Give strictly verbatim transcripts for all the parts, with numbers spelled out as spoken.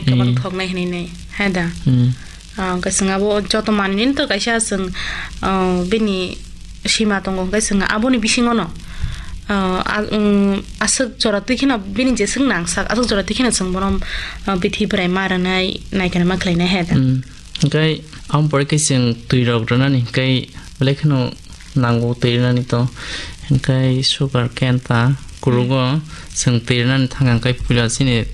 kwbang Hmm. thoknai hinwi nai, hai da? Hmm. Ah, hwnkhe chwng abo joto manwino to kaisa chwng, ah, bini sima tongo, hwnkhe chwng aboni bisingono, ah, a-, um, aswk jora twi kheno bini jeswk nangsak, aswk jora twi kheno chwng bono, ah, bithi bwrai ma rwnai, naikhe ma khlainai, hai da? Hmm. Hwnkhe aboni pore khe chwng twirok rwnani, hwnkhe belai kheno nango twi rwnani to. Hwnkhe sugar cane ta kurugo chwng twi rwnani thangkha, hwnkhe puila chini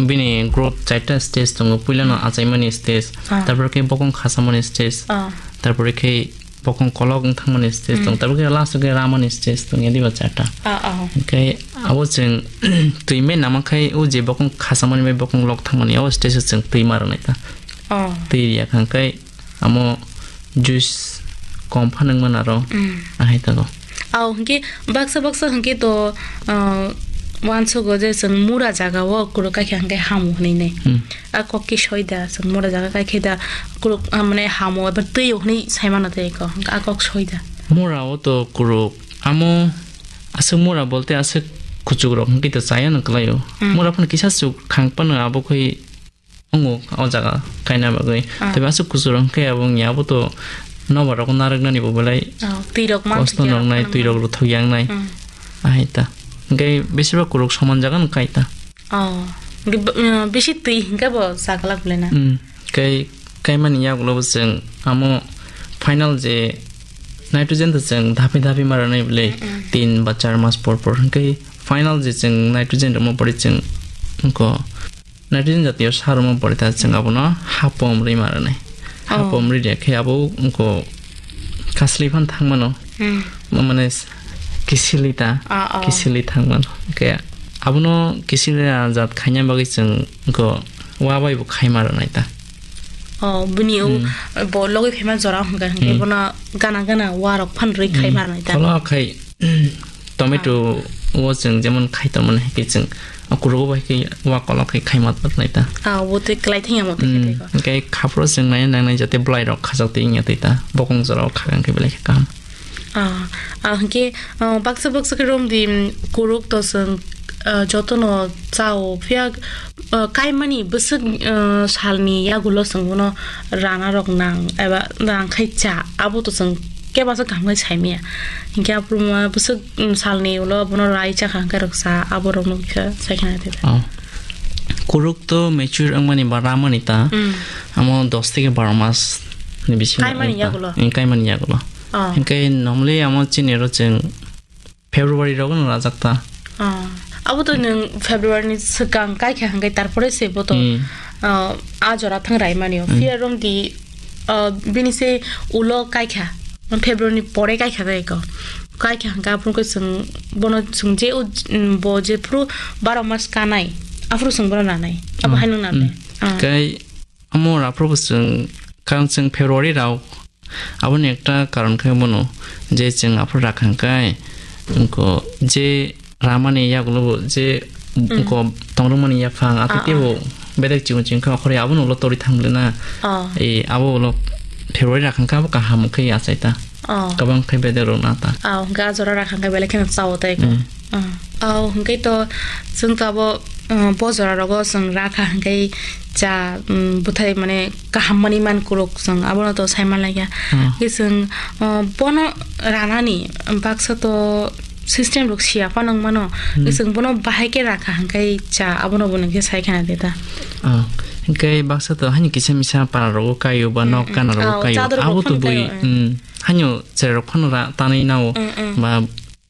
bini growth chaita stage tongo, puilano Hmm. achaimani stage, Ah. tarpore khe bokong khasamani stage, Ah. tarpore khe bokong kolok wng thangmani stage Hmm. tongo, tarpore khe last o khe ramani stage tongo, diba charta. Ah, ah. Hwnkhe abo chwng twi mai nama khai o je bokong khasamani bai bokong lok thangmani, o stage o chwng twi ma rwnai ta. Oh. Twi riya kha hwnkhe amo juice kom phanang mano aro Mm. ahai tago. Aw, hwnkhe baksa baksa hwnkhe to, ah, uansugo je chwng mura jaga o kuro kaikha hwnkhe hamu hwnwi nai. Hmm. A kok ki soida chwng mura jaga kaikhe da kuro, ah, mane hamu eba twi o hwnwi sai mano tei ko. Hwnkhe a kok soida. Mura o to kuro amo aswk mura bolte aswk kuchuk rok hwnkhe to chaya no kwlai o. Hmm. Mura phano kisa chuk khang phano abo khoi Wngo o jaga kaina bagwi. Ah. Tei aswk kuchuk rok khe abo wngya, abo to nobar rok narwknani bo belai Oh, twi rok man kosto thokya noknai, rok twi rok phano. Ruthok yaknai. Hmm. Ahai ta. Hwnkhe besibak kuruk soman jaga no kai ta. Oh. Hwnkhe b-, uh, bisi twi hwnkhe bo chaklak belai na. Hmm. Kai, kaimani yagulo bo chwng amo final je nitrogen to chwng daphi daphi ma rwnai belai Mm-mm. tin ba char mas por por. Hwnkhe final je chwng nitrogen rwma pore chwng wngkho. Nitrogen jatiyo sar rwma pore ta chwng abono hapom rwi ma rwnai. Oh. Hapom rwi rwya khe abo wngkho kasli phan thang mano. Hmm. Ma-, mane s-, kisili ta, Ah, oh. Kisili thang mano. Hwnkhe abono kisili jat khaina bagwi chwng wngkho wa bai bo khai ma rwnai ta. Oh, bini o Hmm. bo logwi phaima jora hwnkha hwnkhe Hmm. bono gana gana wa rok phan rwi khai Hmm. ma rwnai ta. Kholo khai Tomato o chwng jemon khai tongmani hai khe chwng o kurugo bai khe wa kolok khai khai ma tongmani ta. Ah, bo tei kwlai thang ya mo tei Hmm, khe tei ko. Hwnkhe khaphuru chwng nai nangnai jate bwlai rok khajak twi wngya twi ta. Bokong jora o kha hwnkhe belai khe kaham. Ah, ah, hwnkhe, ah, baksa baksa khe rom di, mm, kuruk to chwng, ah, jotono chao phiya, ah, kaimani bwswk, ah, salni yagulo chwng bono rana rok nang eba nang khai cha abo to chwng kebasa kaham khe saimaya. Hinkhe aphuru ma bwswk, mm, salni ulo bono rai chakha hinkhe rwksa aborokno khe saikha naidi. Oh. Kuruk to mature wngmani ba ramani ta. Mm. Amo dos theke baro mas ni bisingo Kaimani wngkha. Yagulo? Mm, kaimani yagulo. Oh. Hinkhe normally amo chini ro chwng February rogo no rajak ta. Ah, abo to nwng February ni swkang kaikha hwnkhe tarpore se bo to, Hmm. Ah, a jora thang rai mani o. Hmm. Phiya romdi, ah, bini se ulo kaikha, February ni pore kaikha dai ko. Kaikha hwnkhe aphuru khe chwng bono chwng je o, um, bo je phuru baro mas kanai, aphuru chwng bono nanai. Abo Hmm. Hai nwng nanai. Hmm. Ah. Kai amo raphuru bo chwng, karon chwng February rao Aboni ekta karon khe bono je chwng aphuru rakha hwnkhe, wngkho je ramani yagulo bo je Mm. wngkho tongrwmani yaphang, atwi Ah, teibo ah. Bedek chikon chikon khe okhorwi abono ulo torwi thang bwlwi na. Ah. E, abo ulo February rakha hwnkhe abo kaham khe achai ta. Ah. Kwbang khe bedek rok na ta. Ah, hwnkhe a jora rakha hwnkhe belai kheno chao tei kho. Mm. Ah. Ah, hwnkhe to chwng to abo, ah, bo jora rogo chwng rakha hwnkhe cha, um, bwthai mane kaham mani man kuruk chwng abono to sai manlaiya. Hmm. Khe chwng, uh, bono ranani baksa to system rok siya phano wng mano. Hmm. Khe chwng bono bahai khe rakha hwnkhe cha abono bo nwng khe sai khana de ta. Ah, hwnkhe baksa to hani kisa misa para rogo kaio ba Hmm, nok hmm. Gana rogo Oh, kaio. Chador rok Abo to phano bui, kaio, hmm. Hmm, hanyo cherai rok phano ra tanwi nao Hmm, hmm. Ba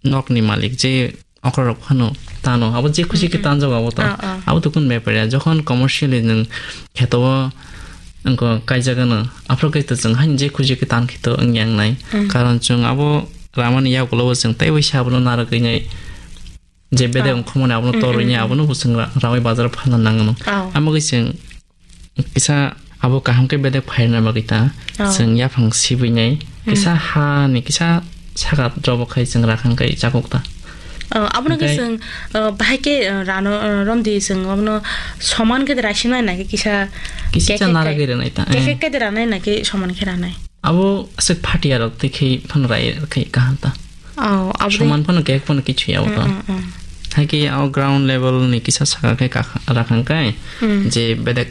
nokni malik je okra rok phano tano, abo je khushi khe Mm, mm. Tanjago abo to. Ah, ah. Abo to kun bepar ya, jokhon commercially nwng kheto o wngkho kaijak ano, aphuru khe to chwng haino je khushi khe tan khe to wngya wngnai. Mm. Karon chwng abo ramani yagulo bo chwng teibo se abono narwgwi nai, je bedek Ah. Wngkho mani abono Mm, torwi mm, nai, mm. Abono bo chwng ra-, rawi bazar o phalna nangno. Ah. Amo khe chwng kisa abo kaham khe bedek phairna bagwi ta Oh. Chwng yaphang sibwi nai. Hmm. Kisa hani kisa saka drobo khai chwng rakhang kai chakuk ta. Oh, abono khe Hwnkhe chwng, oh, bahai khe, oh, rano, oh, romdi chwng abono soman khe raisina nai khe kisa Kisa khe cha nara khe khe ranai ta, khe eh. Khe khe ranai nai khe soman khe ranai. Abo aswk phatia rok tei khe phano rai khe kaham ta. Oh, abo de- Soman phano kek phano kichwi abo to. Mm, mm, mm. Hai khe abo ground level ni kisa saka khe kakha-, rakhang kai Hmm. Je bedek